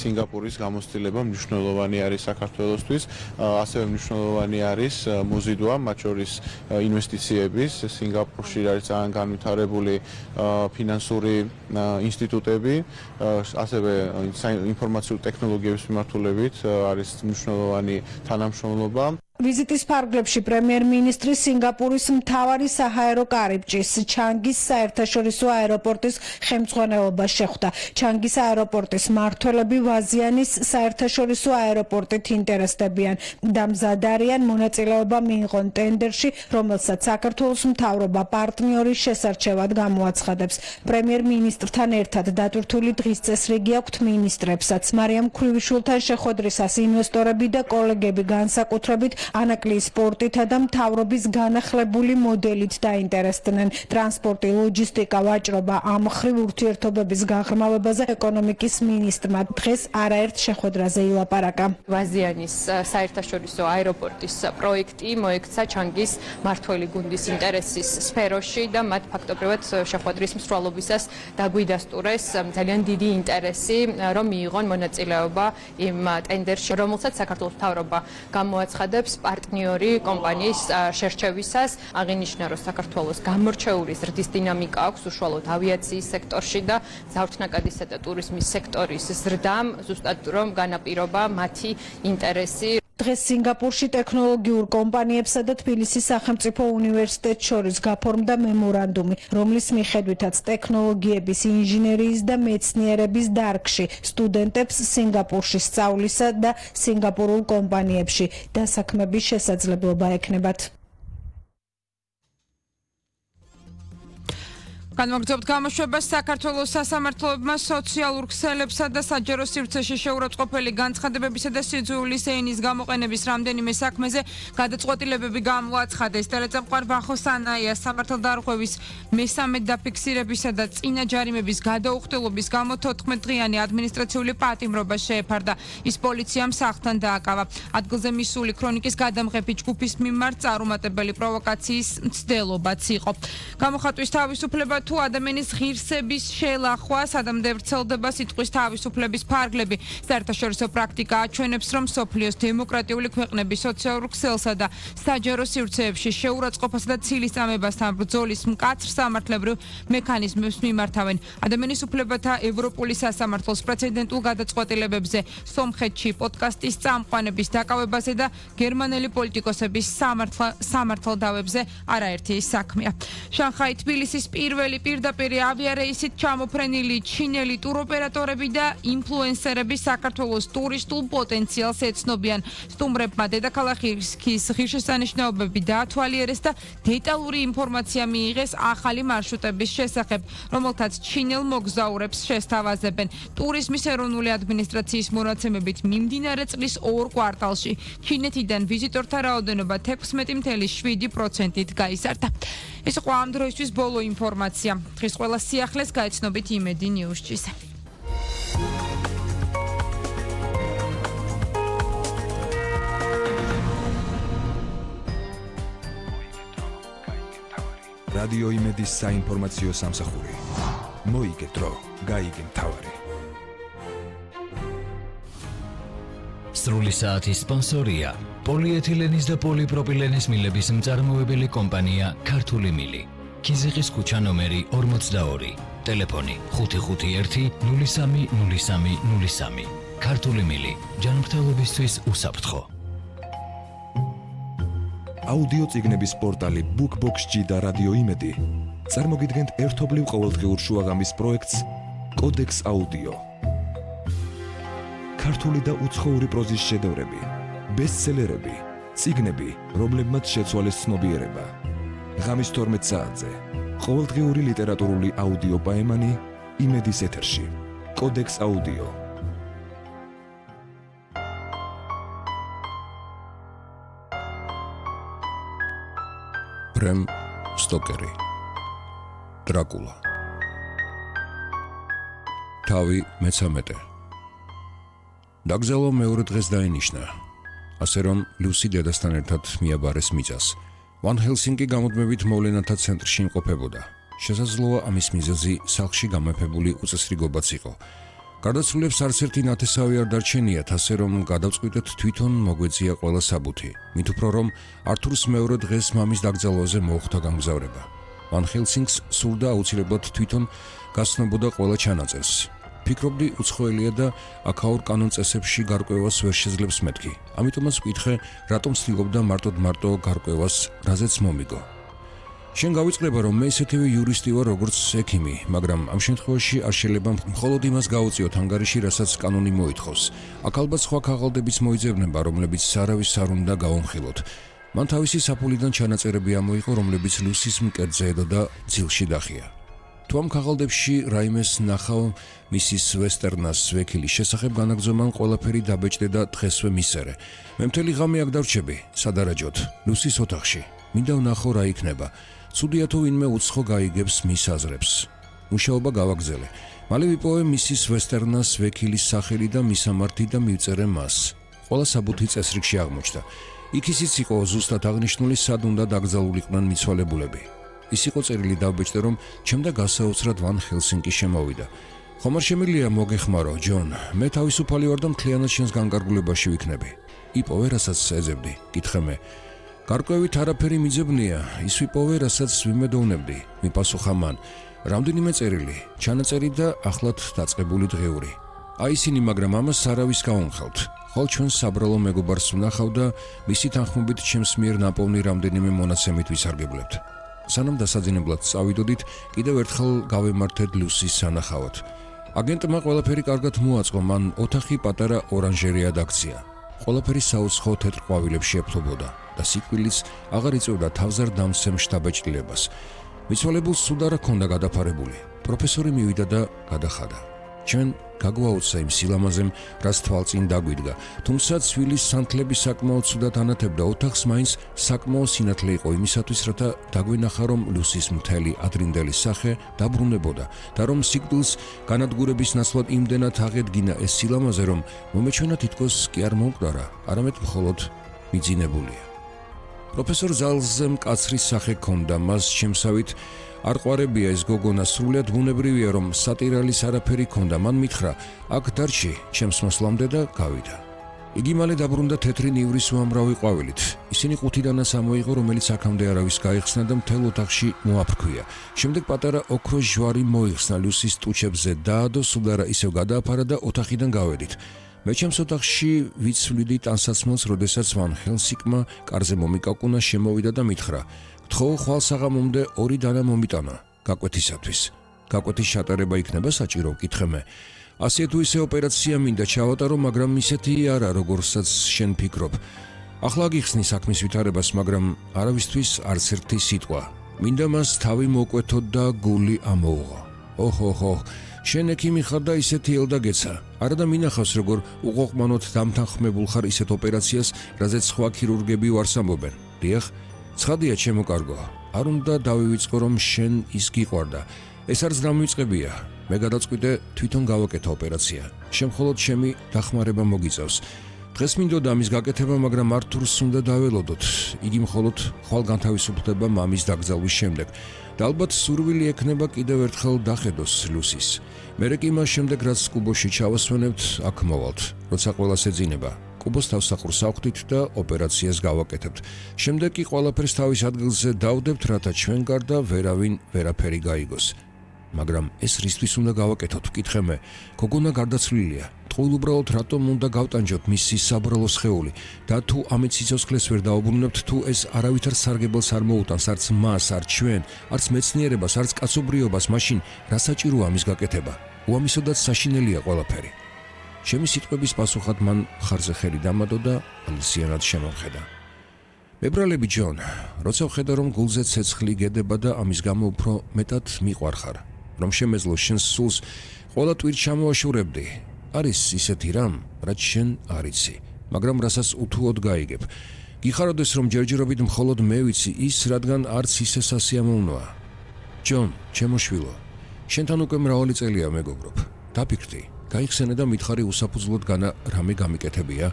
სინგაპურის გამოცდილება მნიშვნელოვანი არის საქართველოსთვის, ასევე მნიშვნელოვანი არის მოზიდვა, მათ შორის ინვესტიციების. სინგაპურში არის ძალიან განვითარებული ფინანსური ინსტიტუტები, ასევე ინფორმაციული ტექნოლოგიების მიმართულებით არის მნიშვნელოვანი თანამშრომლობა. ვიზიტის ფარგლებში პრემიერ-მინისტრი სინგაპურის მთავარი საჰაერო კარიბჭის ჩანგის საერთაშორისო აეროპორტის ხელმძღვანელობას შეხვდა. ჩანგის აეროპორტის მმართველები ვაზიანის საერთაშორისო აეროპორტით ინტერესდებიან და მზად არიან მონაწილეობა მიიღონ ტენდერში, რომელსაც საქართველოს მთავრობა პარტნიორის შესარჩევად გამოაცხადებს. პრემიერ-მინისტრთან ერთად დატვირთული დღის წესრიგი აქვთ მინისტრებსაც. მარიამ ქვრივიშვილთან შეხვედრისას ინვესტორები და კოლეგები განსაკუთრებით ანაკლიის სპორტითა და მთავრობის განახლებული მოდელით დაინტერესდნენ. ტრანსპორტი, ლოჯისტიკა, ვაჭრობა ამ მხრივ ურთიერთობების გაღრმავებაზე ეკონომიკის მინისტრმა დღეს არაერთ შეხვედრაზე ილაპარაკა. ვაზიანის საერთაშორისო აეროპორტის პროექტი მოექცა ჩანგის მმართველი გუნდის ინტერესის სფეროში და მათ ფაქტობრივად შეხვედრის მსვლელობისას დაგვიდასტურეს ძალიან დიდი ინტერესი, რომ მიიღონ მონაწილეობა იმ ტენდერში, რომელსაც საქართველოს მთავრობა გამოაცხადებს პარტნიორი კომპანიის შერჩევისას. აღინიშნა, რომ საქართველოს გამორჩეული ზრდის დინამიკა აქვს უშუალოდ ავიაციის სექტორში და ზავთნაკადისა და ტურიზმის სექტორის ზრდამ ზუსტად რომ განაპირობა მათი ინტერესი. დღეს სინგაპურში ტექნოლოგიურ კომპანიებსა და თბილისის სახელმწიფო უნივერსიტეტს შორის გაფორმდა მემორანდუმი, რომლის მიხედვითაც ტექნოლოგიების, ინჟინერიის და მეცნიერების დარგში სტუდენტებს სინგაპურში სწავლისა და სინგაპურულ კომპანიებში დასაქმების შესაძლებლობა ექნებათ. განმოგრძობთ გამოშვებას. საქართველოს სასამართლოებმა სოციალურ ქსელებსა და საჯარო სივრცეში შეურაცხყოფელი განცხადებებისა და სიძულვის ენის გამოყენების რამდენიმე საქმეზე გადაწყვეტილებები გამოაცხადეს. ტელეწამყვარ ვახო სანაიას სამართალდარღვევის მესამე დაფიქსირებისა და წინა ჯარიმების გადაუხდელობის გამო 14 დღიანი ადმინისტრაციული პატიმრობა შეეფარდა. ის პოლიციამ სახლთან დააკავა. ადგილზე მისული ქრონიკის გადამღები ჯგუფის მიმართ წარუმატებელი პროვოკაციის მცდელობაც იყო. გამოხატვის თავისუფლება თუ ადამიანის ღირსების შელახვა სადამდე ვრცელდება სიტყვის თავისუფლების ფარგლები. საერთაშორისო პრაქტიკა აჩვენებს, რომ სოფლიოს დემოკრატიული ქვეყნების სოციალურ ქსელსა და საჯარო სივრცეებში შეურაცხყოფასა და ცილისწამებასთან ბრძოლის მკაცრ სამართლებრივ მექანიზმებს მიმართავენ. ადამიანის უფლებათა ევროპული სასამართლოს პრეცედენტულ გადაწყვეტილებებზე სომხეთში პოდკასტის წამყვანების დაკავებაზე და გერმანელი პოლიტიკოსების სამართალდავებზე არაერთი საქმეა. შანხაი თბილისის პირველი პირდაპირ ავიარეისით ჩამოფრენილი ჩინელი ტუროპერატორები და ინფლუენსერები საქართველოს ტურისტულ პოტენციალს ეცნობიან. სტუმრებმა დედაქალაქის ღირსშესანიშნაობები დაათვალიერეს და დეტალური ინფორმაცია მიიღეს ახალი მარშრუტების შესახებ, რომელთაც ჩინელ მოგზაურებს შესთავაზებენ. ტურიზმის ეროვნული ადმინისტრაციის მონაცემებით მიმდინარე წლის 2 კვარტალში ჩინეთიდან ვიზიტორთა რაოდენობა 16.7%-ით გაიზარდა. ეს იყო ამ დროისთვის ბოლო ინფორმაცია. დღეს ყველა სიახლეს გაეცნობით იმედი ნიუსჩიზე. რადიო იმედის საინფორმაციო სამსახური. მოიგე დრო, გაიგე მთავარი. სრული საათის სპონსორია პოლიეთილენის და პოლიპროპილენის მილების მწარმოებელი კომპანია ქართული მილი. ქიზიყის ქუჩა ნომერი 42, ტელეფონი 551 03 03. ქართული მილი, ჯანმრთელობისთვის უსაფრთხო. აუდიო წიგნების პორტალი BookBox-G და რადიო იმედი წარმოგიდგენთ ერთობლივ ყოველდღიურ შუაღამის პროექტს კოდექს აუდიო. ქართული და უცხოური პროზის შედევრები, ბესტსელერები, წიგნები, რომლებმაც შეცვალეს ცნობიერება. ღამის 12 საათზე ყოველდღიური ლიტერატურული აუდიო პაემანი იმედის ეთერში. კოდექს აუდიო. ბრემ სტოკერი. დრაკულა. თავი მე-13. დაგზელო მეორე დღეს დაინიშნა, ასე რომ ლუსი დედასთან ერთად მიაბარეს მიწას. ვან ჰელსინკი გამუდმებით მოვლენათა ცენტრში იმყოფებოდა. შესაძლოა ამის მიზეზი სახლში გამეფებული უწესრიგობაც იყო. გარდაცვლილებს არც ერთი ნათესავი არ დარჩენიათ, ასე რომ გადავწყვიტეთ თვითონ მოგვეწია ყველა საბუთი. მით უფრო რომ ართურს მეორე დღეს მამის დაკრძალვაზე მოუხდა გამგზავრება. მან ჰელსინკს სურდა აუცილებლად თვითონ გაცნობოდა ყველა ჩანაწერს. ფიქრობდი უცხოელია და აქაურ კანონ წესებში გარკვევას ვერ შეძლებს მეთქი. ამიტომაც ვკითხე, რატომ ცდილობდა მარტო გარკვევას, რაზეც მომიგო. შენ გავიწყდება, რომ მე ისეთივე იურისტი ვარ, როგორც ექიმი, მაგრამ ამ შემთხვევაში არ შეიძლება მხოლოდ იმას გაუწიოთ ანგარიში, რასაც კანონი მოითხოვს. აქ ალბათ სხვა ქაღალდებიც მოიძებნება, რომლებიც სარავის არ უნდა გავამხილოთ. მან თავისი საფულიდან ჩანაწერები ამოიღო, რომლებიც ლუსის მკერდზე ედო და ძილში დახია. თუ ამ ქაღალდებში რაიმეს ნახავ მისის ვესტერნას ვექილის შესახებ განაგზომან ყველაფერი დაბეჭდე და დღესვე მისერე. მე მთელი ღამე აქ დარჩები, სადარაჯოდ, ლუსის ოთახში. მინდა ვნახო რა იქნება. ცუდია თუ ვინმე უცხო გაიგებს მის აზრებს. მუშაობა გავაგზელე. მალე ვიპოვე მისის ვესტერნას ვექილის სახელი და მისამართი და მივწერე მას. ყველა საბუთი წესრიგში აღმოჩნდა. იქ ისიც იყო ზუსტად აღნიშნული, სად უნდა დაკრძალულიყვნენ მიცვალებულები. ის იყო წერილი დავბეჭდე, რომ ჩემდა გასაოცრად ვან ჰელსინკი შემოვიდა. ხომ არ შემიძლია მოგეხმარო, ჯონ, მე თავისუფალი ვარ და მთლიანად შენს განკარგულებაში ვიქნები. იპოვე, რასაც ეძებდი, კითხე მე. გარკვევით არაფერი მიძებნია, ის ვიპოვე, რასაც ვიმედოვნებდი, მიპასუხა მან. რამდენიმე წერილი, ჩანაწერი და ახლად დაწყებული დღეული. აი ისინი, მაგრამ ამას არავის გავუმხელთ. ხოლ ჩვენ საბრალო მეგობარს ვნახავ და მისი თანხმობით ჩემს მიერ ნაპოვნი რამდენიმე მონაცემით ვისარგებლებთ. სანამ დასაძინებლად წავიდოდით, კიდევ ერთხელ გავემართეთ ლუსის სანახავად. აგენტმა ყველაფერი კარგად მოაწყო, მან ოთახი პატარა ორანჟერიად აქცია. ყველაფერი საუცხო თეთრ ყვავილებში ეფლობოდა და სიკვდილიც აღარ იწევდა თავზარ დამცემ შთაბეჭდილებას. მიცვალებულს სულ არ ჰქონდა გადაფარებული. პროფესორი მივიდა და გადახადა. ჩვენ გაგვაუცა იმ სილამაზემ, რაც თვალწინ დაგვიდგა. თუმცა ცვილის სანთლები საკმაოდ ცუდად ანათებდა ოთახს, მაინც საკმაოდ სინათლე იყო იმისათვის, რათა დაგვენახა, რომ ლუსის მთელი ადრინდელი სახე დაბრუნებოდა და რომ სიკვდილს განადგურების ნაცვლად იმდენად აღედგინა ეს სილამაზე, რომ მომეჩვენა თითქოს კი არ მომკვდარა, არამედ მხოლოდ მიძინებულია. პროფესორ ზალზე მკაცრი სახე ჰქონდა, მას შემსავით არ ყვარებია ეს გოგონა, სრულიად ბუნებრივია, რომ სატირალის არაფერი ჰქონდა. მან მითხრა, აქ დარჩი ჩემს მოსვლამდე და გავიდა. იგი მალე დაბრუნდა თეთრი ნივრის უამრავი ყვავილით. ისინი ყუთიდანაც ამოიღო, რომელიც აქამდე არავის გაიხსნა და მთელ ოთახში მოაფრქვია. შემდეგ პატარა ოქროს ჯვარი მოიხსნა ლუსის ტუჩებზე, დაადო, სულ არა ისევ გადააფარა და ოთახიდან გავედით. მე ჩემს ოთახში ვიცვლიდი ტანსაცმელს, როდესაც ვან ჰელსინკმა კარზე მომიკაკუნა, შემოვიდა და მითხრა, გთხოვ ხვალ საღამომდე 2 დანა მომიტანა გაკვეთისათვის. გაკვეთის ჩატარება იქნება საჭირო, კითხე მე. ასე თუ ისე ოპერაცია მინდა ჩავატარო, მაგრამ ისეთი არა, როგორცაც შენ ფიქრობ. ახლა გიხსნი საქმის ვითარებას, მაგრამ არავისთვის არც ერთი სიტყვა. მინდა მას თავი მოკვეთო და გული ამოუღო. ოჰოჰო, შენ ექიმი ხარ და ისეთი ელდაგეცა. არა და მინახავს, როგორ უყოყმანოდ დამთანხმებულ ხარ ისეთ ოპერაციას, რაზეც სხვა ქირურგები ვარს ამბობენ. დიახ, ცხადია ჩემო კარგო, არ უნდა დავივიწყო, რომ შენ ის გიყვარდა. ეს არც დამივიწყებია. მე გადაწყვიტე თვითონ გავაკეთო ოპერაცია. შენ მხოლოდ ჩემი დახმარება მოგიწევს. დღეს მინდოდა ამის გაკეთება, მაგრამ ართურს უნდა დაველოდოთ. იგი მხოლოდ ხვალ განთავისუფლდება მამის დაკრძალვის შემდეგ. და ალბათ სურვილი ექნება კიდევ ერთხელ დახედოს ლუსის. მერე კი მას შემდეგ, რაც კუბოში ჩავასვენებთ, აქ მოვალთ, როცა ყველას ეძინება. კუბოს თავსახურს ავხდით და ოპერაციას გავაკეთებთ. შემდეგ კი ყველაფერს თავის ადგილზე დავდებთ, რათა ჩვენ გარდა ვერავინ ვერაფერი გაიგოს. მაგრამ ეს რისთვის უნდა გავაკეთოთ, ვკითხე მე. გოგონა გარდაცვლილია. ტყუილ უბრალოდ რატომ უნდა გავტანჯოთ მისი საბრალო სხეული და თუ ამით სიცოცხლეს ვერ დაუბრუნებთ, თუ ეს არავითარ სარგებელს არ მოუტანს, არც მას, არც ჩვენ, არც მეცნიერებას, არც კაცობრიობას, მაშინ რა საჭიროა ამის გაკეთება? უამისოდაც საშინელია ყველაფერი. ჩემი სიტყვების პასუხად მან ხარზე ხელი დამადო და ამისიანად შემოხედა. მებრალები ჯონ, როცა ვხედა, რომ გულზე ცეცხლი გედება და ამის გამო უფრო მეტად მიყვარხარ, რომ შემეძლო შენს სულს ყველა ტვირთ ჩამოაშურებდი. არის ისეთი რამ, რაც შენ არ იცი, მაგრამ რასაც უთუოდ გაიგებ. გიხაროდეს, რომ ჯერჯერობით მხოლოდ მე ვიცი ის, რადგან არც ისე სასიამოვნოა. ჯონ, ჩემო შვილო, შენთან უკვე მრავალი წელია მეგობრობ. დაფიქრდი, გაიხსენე და მითხარი უსაფუძვლოდ განა რამე გამიკეთებია.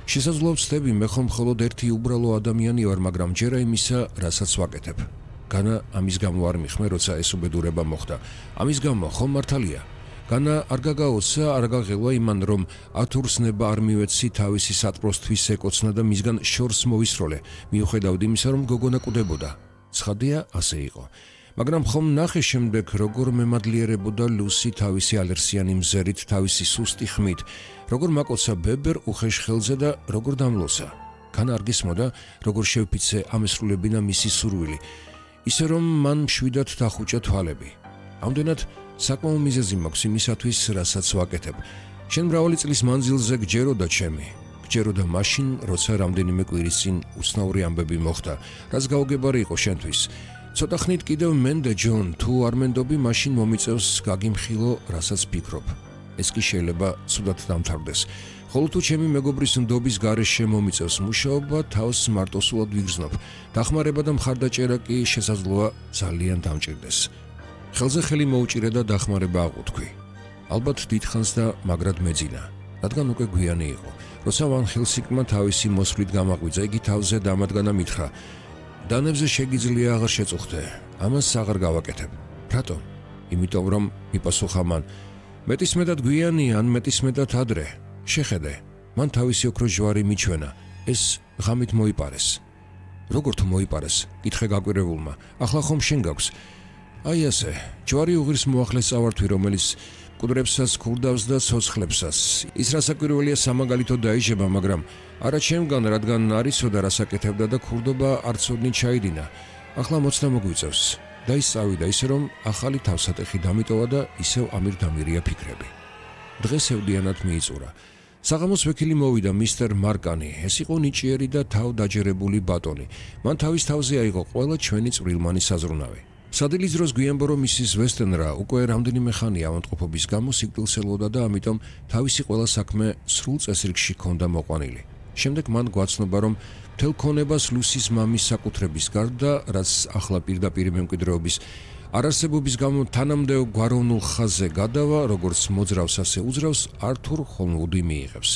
შესაძლოა ვცდები, მე ხომ მხოლოდ ერთი უბრალო ადამიანი ვარ, მაგრამ ჯერა იმისა, რასაც ვაკეთებ. განა ამის გამო არ მიხმე, როცა ეს უბედურება მოხდა. ამის გამო ხომ მართალია? განა არ გაგაოცა, არ გაღელვა იმან, რომ ართურს ნება არ მივეცი თავისი სატყროსთვის ეკოცნა და მისგან შორს მოვისროლე, მიუხედავად იმისა, რომ გოგონა კვდებოდა. ცხადია, ასე იყო. მაგრამ ხომ ნახე შემდეგ, როგორ მემადლიერებოდა ლუსი თავისი ალერსიანი მზერით, თავისი სუსტი ხმით, როგორ მაკოცა ბებერ უხეშ ხელზე და როგორ დამლოცა. განა არ გისმოდა, როგორ შევფიცე ამესრულებინა მისი სურვილი, ისე რომ მან მშვიდად დახუჭა თვალები. ამდენად საკმაო მიზეზი მაქვს იმისათვის, რასაც ვაკეთებ. შენ მრავალი წლის მანძილზე გჯეროდა ჩემი. გჯეროდა მაშინ, როცა რამდენიმე კვირის წინ უცნაური ამბები მოხდა, რაც გაუგებარი იყო შენთვის. ცოტა ხნით კიდევ მენდე ჯონ, თუ არ მენდობი, მაშინ მომიწევს გაგიმხილო, რასაც ფიქრობ. ეს კი შეიძლება ცუდად დამთავრდეს. ხოლო თუ ჩემი მეგობრის ნდობის გარეშე მომიწევს მუშაობა, თავს მარტოსულად ვიგრძნობ. დახმარება და მხარდაჭერა კი შესაძლოა ძალიან დამჭირდეს. ხელზე ხელი მოუჭირე და დახმარება აღვთქვი. ალბათ დიდხანს და მაგრად მეძინა, რადგან უკვე გვიანი იყო. როცა ვან ჰელსინკმა თავისი მოსვლით გამაღვიძა, იგი თავზე დამადგანა მითხრა: დანებზე შეგიძლია აღარ შეწუხდე, ამას აღარ გავაკეთებ. რატო? იმიტომ რომ მიპასუხა მან: მეტისმეტად გვიანი ან მეტისმეტად ადრე. შეხედე, მან თავისი ოქრო ჯვარი მიჩვენა, ეს ღამით მოიპარეს. როგორ თუ მოიპარეს? კითხე გაკვირებულმა. ახლა ხომ შენ გაქვს? აი ასე, ჯვარი უღირს მოახლეს წავართვი, რომელიც მკვდრებსაც ქურდავს და ცოცხლებსაც. ის რასაკვირველია სამაგალითო დაიჟება, მაგრამ არა ჩემგან, რადგან არისო და რასაკეთებდა და ქურდობა არცოდნი ჩაიდინა. ახლა მოცნა მოგვიწევს. და ის წავიდა ისე რომ ახალი თავსატეხი დამიტოვა და ისევ ამირდამირია ფიქრები. დღეს ევდიანად მიიწურა. საღამოს ვექილი მოვიდა მისტერ მარკანი. ეს იყო ნიჭიერი და თავდაჯერებული ბატონი. მან თავის თავზე აიღო ყველა ჩვენი წვრილმანი საზრუნავი. სადილის დროს გვიანბო რომ მისის ვესტენრა უკვე რამდენიმე ხანია ავადმყოფობის გამო სიკვდილს ელოდა და ამიტომ თავისი ყველა საქმე სრულ წესრიგში ჰქონდა მოყვანილი. შემდეგ მან გვაცნობა რომ მთელ ქონებას ლუსის მამის საკუთრების გარდა, რაც ახლა პირდაპირ მემკვიდრეობის არარსებობის გამო თანამდე გვაროვნულ ხაზზე გადავა, როგორც მოძრავს ასე უძრავს, ართურ ჰოლმუდი მიიღებს.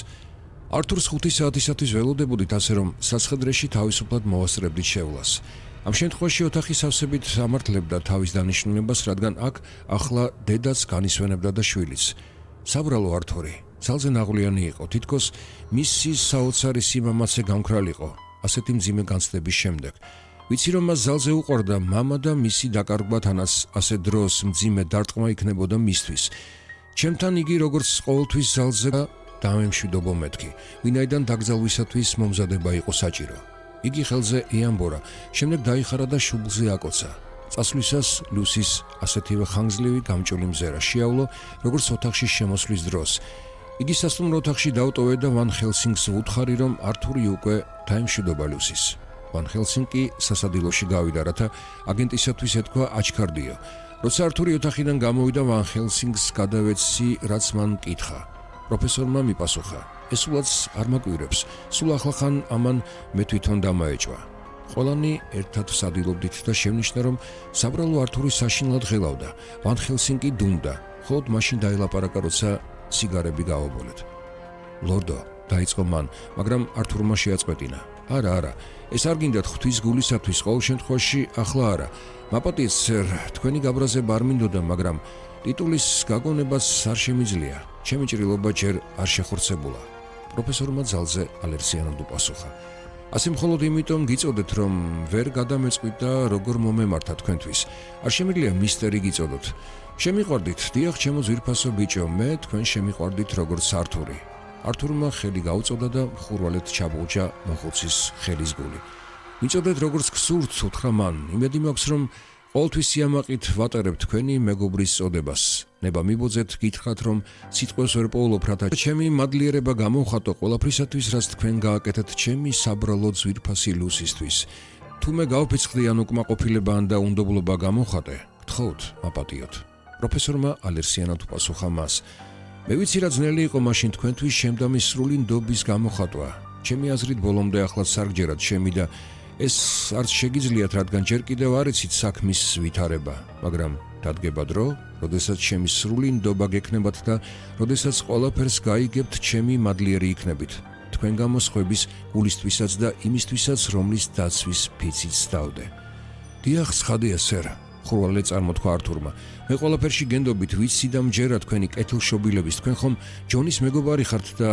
ართურს 5 საათისათვის ველოდებოდით, ასე რომ სასხედრეში თავისუფლად მოვასწრებდით შევლას. ამ შემთხვევაში ოთახის ავსებით ამართლებდა თავის დანიშნულებას, რადგან აქ ახლა დედაც განისვენებდა და შვილიც. საბრალო ართური, ძალზე ნაღვლიანი იყო, თითქოს მისი საოცარი სიმამაცე გამქრალიყო, ასეთი მძიმე განცდების შემდეგ. ვიცი რომ მას ძალზე უყვარდა მამა და მისი დაკარგვა თანაც ასე დროს მძიმე დარტყმა იქნებოდა მისთვის. ჩემთან იგი როგორც ყოველთვის ძალზე დამემშვიდობო მეთქი, ვინაიდან დაკრძალვისათვის მომზადება იყო საჭირო. იგი ხელზე ეამბორა, შემდეგ დაიხარა და შუბლზე აკოცა. წასვლისას ლუსის ასეთივე ხანგრძლივი გამჭოლი მზერა შეავლო, როგორც ოთახში შემოსვლის დროს. იგი სასტუმრო ოთახში დაუტოვე და ვან ჰელსინგს უთხარი, რომ ართური უკვე დაემშვიდობა ლუსის. ვან ჰელსინგი სასადილოში გავიდა, რათა აგენტისათვის ეთქვა აჩქარდიო. როცა ართური ოთახიდან გამოვიდა, ვან ჰელსინგს გადავეცი, რაც მან კითხა. პროფესორმა მიპასუხა: ეს სულაც არ მაკვირებს, სულ ახლახან ამან მე თვითონ დამაეჭვა. ყველანი ერთად ვსადილობდით და შევნიშნა, რომ საბრალო ართური საშინლად ღელავდა. ვან ჰელსინგი დუმდა, ხოლო მაშინ დაელაპარაკა, როცა სიგარები გავაბოლეთ. ლორდო, დაიწყო მან, მაგრამ ართურმა შეაწყვეტინა. არა, ეს არ გინდათ ღვთის გულისათვის, ყოველ შემთხვევაში ახლა არა. მაპატიეთ, სერ, თქვენი გაბრაზება არ მინდოდა, მაგრამ ტიტულის გაგონებაც არ შემიძლია. ჩემი ჭრილობა ჯერ არ შეხორცებულა. პროფესორმა ძალზე ალერსიანად უპასუხა. ასე მხოლოდ იმიტომ გიწოდეთ, რომ ვერ გადამეწყვით და როგორ მომემართა თქვენთვის. არ შემიძლია მისტერი გიწოდოთ. შემიყვარდით, დიახ, ჩემო ძვირფასო ბიჭო, მე თქვენ შემიყვარდით როგორც ართური. ართურმა ხელი გაუწოდა და ხურვალეთ ჩაბუჯა მოხუცის ხელის გული. მიწოდეთ როგორც გსურთ, უთხრა მან. იმედი მაქვს, რომ ყოველთვის სიამაყით ვატარებ თქვენი მეგობრის წოდებას. ნება მიბოძეთ, გითხრათ, რომ სიტყვებს ვერ პოულობ, რათა ჩემი მადლიერება გამოვხატო ყველაფრისათვის, რაც თქვენ გააკეთეთ ჩემი საბრალო ძვირფასი ლუსისთვის. თუ მე გავფიცხდი ან უკმაყოფილება ან და უნდობლობა გამოვხატე, გთხოვთ, მაპატიოთ. პროფესორმა ალერსიანად უპასუხა მას. მე ვიცი რა ძნელი იყო მაშინ თქვენთვის შემდამი სრული ნდობის გამოხატვა. ჩემი აზრით ბოლომდე ახლა სარგჯერად შემი და ეს არც შეგიძლიათ, რადგან ჯერ კიდევ არ იცით საქმის ვითარება, მაგრამ დადგება დრო, როდესაც ჩემი სრული ნდობა გექნებათ და როდესაც ყველაფერს გაიგებთ, ჩემი მადლიერი იქნებით. თქვენ გამოსხვების გულისთვისაც და იმისთვისაც, რომლის დაცვის ფიციც დავდე. დიახ, ცხადია, სერ. ხურვალე წარმოთქვა ართურმა. მე ყველაფერში გენდობით ვიცი და მჯერა თქვენი კეთილშობილების, თქვენ ხომ ჯონის მეგობარი ხართ და